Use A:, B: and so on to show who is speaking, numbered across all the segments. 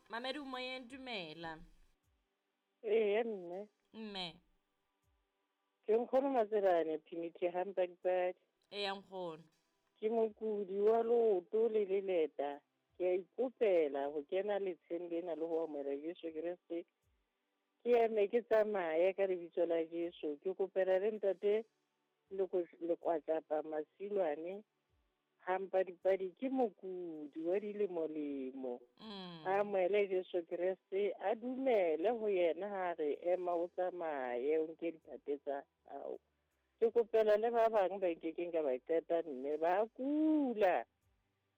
A: Mamedi moyeng, dumela.
B: Eya mme.
A: Mme.
B: Ke nkgono Matselane Phinithi Hampadipadi.
A: Eya nkgono.
B: Ke mokudi wa leoto le leleta. Ke a ikopela ho kena letsheng lena le ho amohela Jesu Kreste. Ke eme ke tsamaye ka lebitso la Jesu. Ke kopela le ntate Lekwatlapa Masilwane Hampadipadi ke mokudi wa dilemolemo. A amohele Jesu Kreste, a dumele ho yena ha re ema o tsamaye o nke diphate tsa hao. Ke kopela le ba bang ba nkekeng ka ba qeta mme ba kula.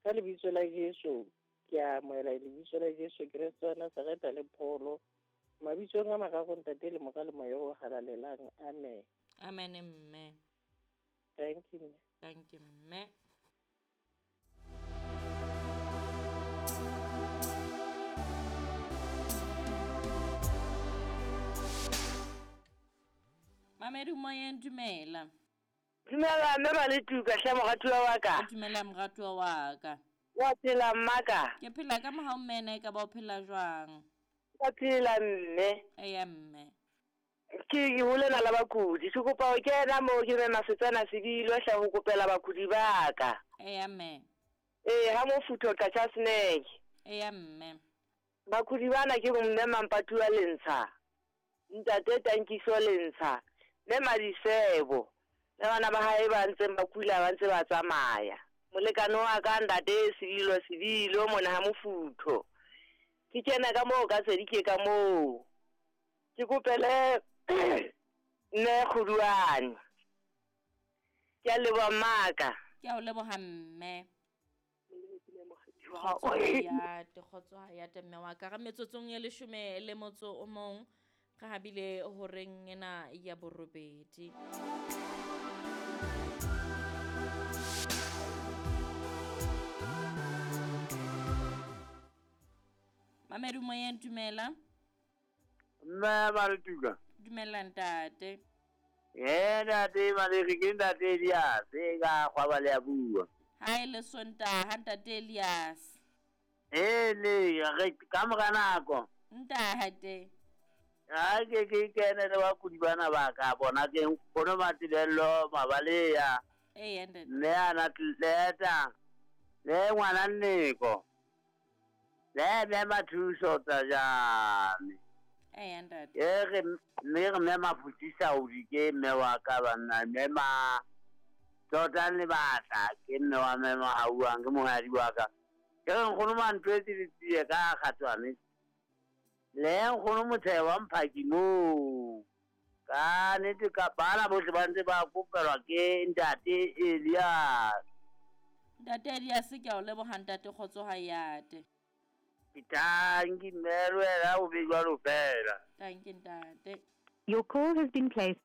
B: Ka lebitso la Jesu ke a amohela lebitso la Jesu Kreste wa Nazareta le pholo. Mabitsong a mararo ntate le mora le moya o halalelang. Amen.
A: Amen mme.
B: Thank you mme.
A: Thank you mme. Mamedi moyeng, dumela.
C: Dumela mme Maletuka hle moratuwa wa ka.
A: Dumela moratuwa wa ka.
C: Wa phela mmaka?
A: Ke phela ka mohau mme, ena e ka ba o phela jwang?
C: Wa phela mme.
A: Eya mme.
C: Ke ho lena la bakudi. Ke kopa ho kena moo ke mme Masetsana Sebilo hle ho kopela bakudi ba ka.
A: Eya mme.
C: Ee, ha mofutho Qacha Snack.
A: Eya mme.
C: Bakudi bana ke mme Mampatuwa Lentsha, ntate Tankiso Lentsha, mme Madisebo le bana ba hae ba ntseng ba kula ba ntse ba tsamaya. Molekane wa ka ntate Sebilo Sebilo mona ha mofutho. Ke kena ka moo ka tsedi ke ka moo. Ke kopele mme Kgoduane. Ke a leboha mmaka.
A: Ke a o leboha mme. Kgotso hayate, kgotso hayate mme wa ka. Re metsotsong e leshome le motso o mong re habile horeng ena ya borobedi. Mamedu moyeng, dumela.
D: Mme Maletuka.
A: Dumela ntate.
D: Ee ntate Malere, ke ntate Elias e ka kgwaba le ya bua.
A: Ha e le Sontaha ntate Elias.
D: Ee le re ka mora nako.
A: Ntate.
D: Ha ke ke kene le bakudi bana ba ka bona ke nkgono Matebello Mabaleya.
A: Ee ntate.
D: Mme ana tleta le ngwana Nneko. Le mme Mathuso Tsajane.
A: Ee ntate.
D: E re mme re mme Mafutisa o ke mme wa ka banna mme ma Tsotang le batla ke mme wa mme Mahauang ke mohadi wa ka. Ke re nkgono Mantwetse le tsie ka kgatswane. Le nkgono Motheo Mphaki moo. Ka nnete ka bana bohle ba ntse ba kopelwa ke ntate Elias.
A: Ntate Elias ke a o leboha ntate kgotso hayate.
D: Ke thank you mme le wena o be jwalo fela.
A: Thank you ntate.
E: Your call has been placed.